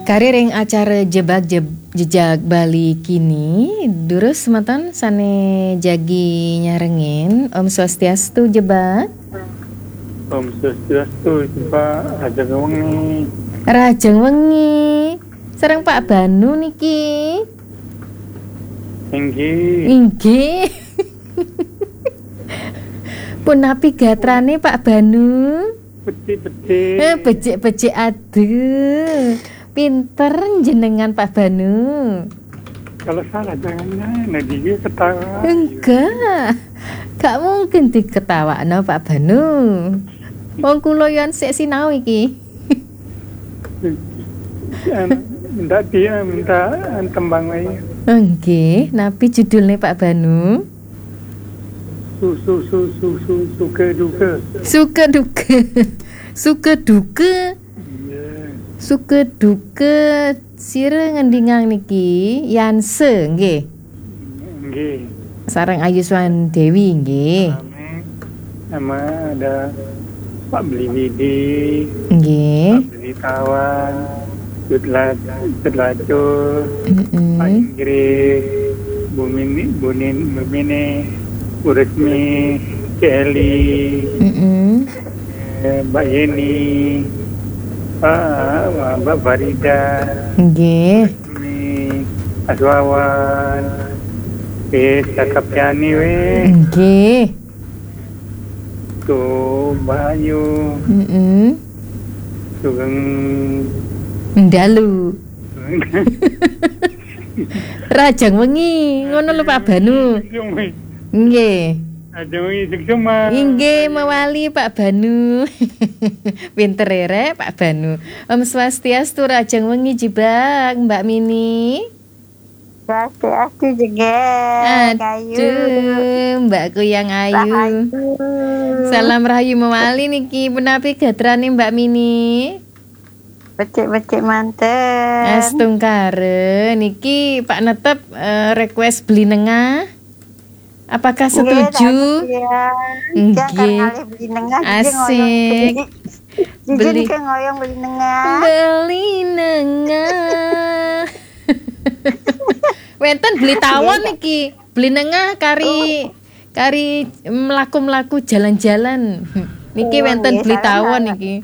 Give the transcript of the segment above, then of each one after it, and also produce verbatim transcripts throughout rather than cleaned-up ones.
Kari ring acara Jebak Jeb- Jejak Bali kini, durus semeton sane jagi nyarengin. Om Swastiastu, Jebak. Om Swastiastu, Jebak. Rahajeng wengi. Rahajeng wengi. Sareng Pak Banu niki. Inggih. Inggih. Punapi gatrane, Pak Banu? Becik-becik. Eh, becik-becik, aduh. Pinter jenengan, Pak Banu. Kalau salah jangan, nah, dia ketawa. Enggak. Gak mungkin diketawakno, Pak Banu. Wong kula yo sik sinau iki. Anu, minta dia, minta, anu, tembang wae. Nggih, napi judulnya, Pak Banu? Su, su, su, su, su, suka duka. Suka duka. Suka duka. Iya. Suka duka sira ngendingang niki, Yanse, nggih. Nggih. Sareng Ayu Swan Dewi, nggih. Rame. Sama ada Pak Beli Widi, nggih. Pak Beli Tawan, Cut La-, Cut Lacur, mm-mm. Pak Inggris, Bu Mini, Bu Nin-, Bu Mini, Bu Resmi, Cik Eli, mm-mm. Eh, Mbak Yeni, Pak, Mbak Farida, nggih. Resmi, Mas Wawan, wis cakep yani wis. Nggih. Tuh, Mbak Ayu. Mm-mm. Sugeng. Ndalu. Rahajeng wengi, ngono lho, Pak Banu. Nggih. Rahajeng wengi, sukses, Mas. Inggih, mewali, Pak Banu. Pinter ya, Rek, Pak Banu. Om Swastiastu, rahajeng wengi, Jebak, Mbak Mini. Swastiastu, Jegek, Ayu. Aduh, Mbak Kuyang Ayu. Rahayu. Salam rahayu mewali niki, punapi gatrane, Mbak Mini? Becik-becik manten. Astungkara, niki Pak Netep, eh, request Beli Nengah. Apakah setuju? Nggih, dados ya. Nggih. Jangan ngalih Beli Nengah, jadi ngoyong Beli. Asik. Jadi Beli. Kayak ngoyong Beli Nengah. Beli Nengah. Wenten Beli Tawon nggih, niki. Beli Nengah kari, oh, kari mlaku-mlaku jalan-jalan. Niki, oh, wenten nggih, Beli Tawon niki.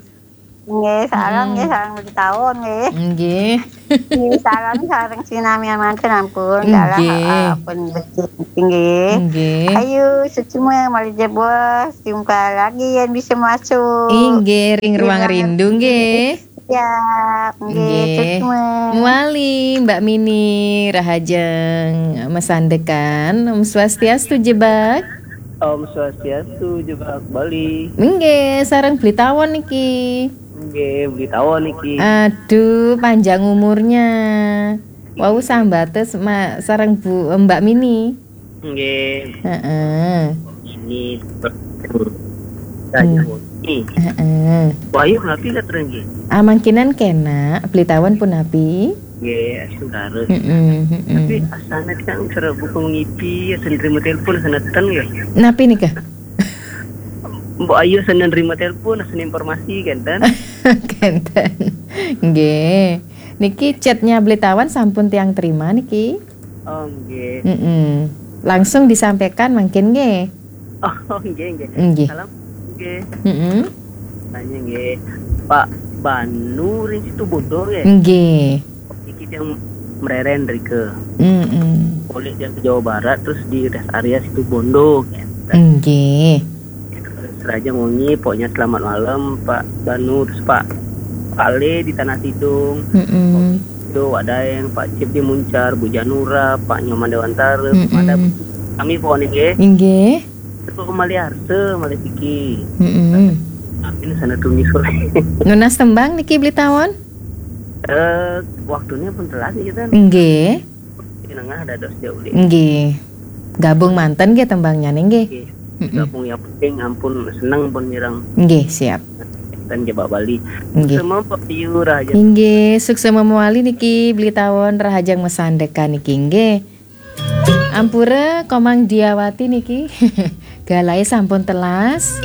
Nggih, sareng, hmm, nggih, sareng Beli Tawon nggih. Nggih. Nggih, sareng, sareng sinamian manten ampun, dalah, nggih, eh, pun becik nggih. Nggih. Ayo, suksma malih jebos, jumpa lagi yang bisa masuk. Inggih, ring ruang rindu nggih. Ya, nggih, nggih. Suksma. Mewali, Mbak Mini, rahajeng masandekan. Om Swastiastu, Jebak. Om Swastiastu, Jebak Bali. Nggih, sareng Beli Tawon niki. Nggih, Beli Tawon niki. Aduh, panjang umurnya. Wau sambate ma-, sareng Bu, Mbak Mini. Nggih. Heeh. Ini. Hmm. Ini. Heeh. Wahyu napi kat nggih? Ah, mangkinan kena, Beli Tawon punapi? Nggih, astungkara. Heeh, heeh. Tapi asane kan cara buku ngipi, asa nerima telepon, asa neten nggih. Napi nika? Mbok Ayu asa nerima telepon, asa informasi, kenten? Kenten. Nggih. Niki chatnya Beli Tawon sampun tiang terima niki. Oh, nggih. Mm-mm. Langsung disampaikan mangkin nggih. Oh, nggih, nggih. Nggih. Salam, nggih. Mm-mm. Tanya nggih. Pak Banu ring Situbondo nggih? Nggih. Iki yang mereren rike. Mm-mm. Polih yang ke Jawa Barat, terus di rest area Situbondo nggih. Nggih. Rahajeng wengi, pokoknya selamat malam, Pak Banu, terus Pak, Pak Le di Tanah Tidung, mm-mm, Pak Sido, Wak Daeng, Pak Cip di Muncar, Bu Janura, Pak Nyoman Dewantara, mm-mm, Madam, kami pokoknya nggih. Inggih. Terus Mali Arse, Mali Siki. Mm-mm. Amin sana tuni sore. Nunas tembang niki Beli Tawon? Eh, waktunya pun telat nih kita. Nggih. Di nengah ada dos jauh deh. Nggih. Gabung manten nggih tembangnya nggih. Nggih. Mm-mm. Gabung yang penting ampun seneng pun mireng. Nggih, siap. Dan jebak Bali. Nggih. Semua Pak Yu Raja. Nggih, suksma mewali niki Beli Tawon rahajeng masandekan niki nggih. Ampura Komang Diawati niki. Galahe sampun telas.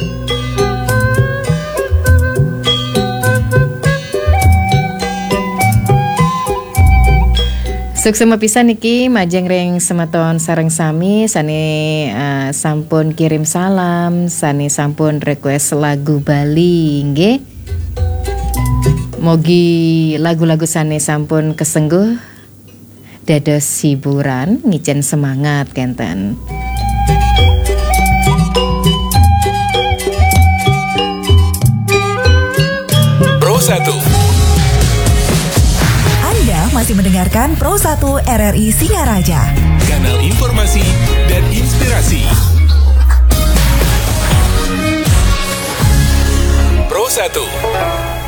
Suksma pisan niki majeng ring semeton sareng sami sane, eh, sampun kirim salam, sane sampun request lagu Bali, nggih. Mogi lagu-lagu sane sampun kesengguh dados hiburan, ngicen semangat kenten. Pro satu. Anda masih mendengarkan Pro satu R R I Singaraja. Kanal informasi dan inspirasi. Pro satu.